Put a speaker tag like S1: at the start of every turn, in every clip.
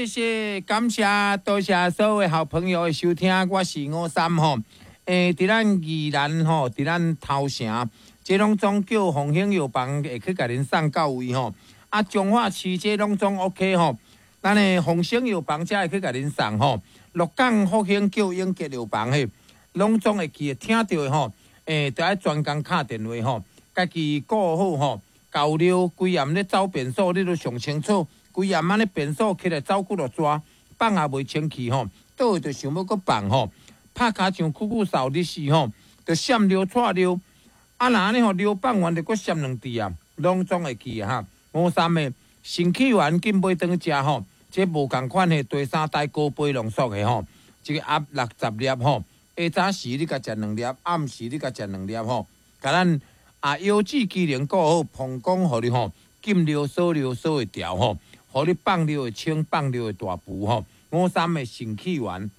S1: 謝謝，感謝，多謝所有好朋友的收聽，我是吳三吼。佇咱宜蘭吼，佇咱頭城，這攏總叫鳳興藥房會去共恁送到位吼。啊，彰化市這攏總 OK 吼。咱的鳳興藥房才會去共恁送吼。鹿港福興叫永吉藥房嘿，攏總會記得聽著的吼。著愛專工敲電話吼，家己顧好吼。厚尿規暗咧走便所，你都上清楚。規暗按呢便所起來走幾落逝，放也袂清氣吼，倒就想欲閣放吼，拍跤像久久掃日時吼，就閃尿掣尿，啊若按呢吼尿放完就閣閃兩滴啊，攏總會記哈。吳三的腎氣丸緊買轉去食吼，這無仝款的第三代高倍濃縮的吼，這個盒60粒吼，下早時你共食兩粒，暗時你共食兩粒吼，共咱啊腰子機能顧好，膀胱予你吼，禁尿鎖尿鎖會牢吼。予你放尿會清，放尿會大浮吼。吳三的腎氣丸，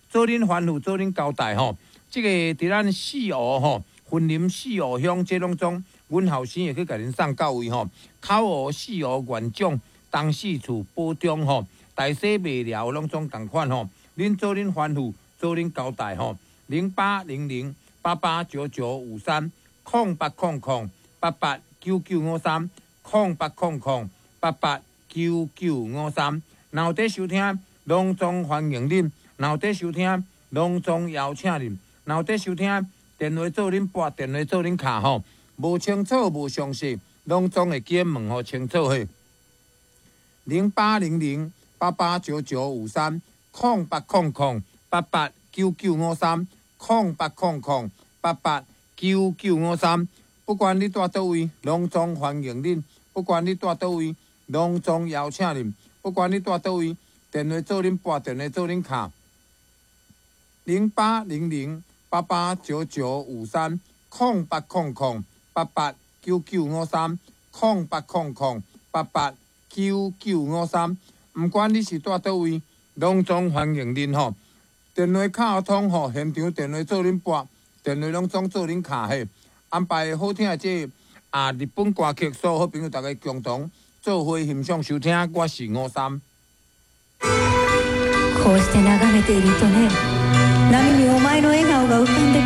S1: 做恁吩咐，做恁交代吼。這個佇咱四湖吼，雲林四湖鄉這攏總，阮後生會去共恁送到位吼。口湖、四湖、元長、東勢厝、寶中吼，大細麥寮攏總仝款吼。恁做恁吩咐，做恁交代吼。0800889953，0800889953，0800889953。若有佇收聽，攏總歡迎恁；若有佇收聽，攏總邀請恁；若有佇收聽，電話做恁撥，電話做恁敲吼。無清楚、無詳細，攏總會記問予清楚嘿。0800889953，0800889953，0800889953。不管你蹛佗位，攏總歡迎恁；不管你蹛佗位，攏總邀請恁；不管你蹛佗位，電話做恁撥，電話做恁敲。0800889953，0800889953，0800889953。毋管你是蹛佗位，攏總歡迎恁吼。電話敲通吼，現場電話做恁撥，電話攏總做恁敲嘿。安排好聽的這個啊日本歌曲，所有好朋友大家共同做伙欣賞收聽。我是吳三。
S2: こうして眺めているとね、波にお前の笑顔が浮かんでくる。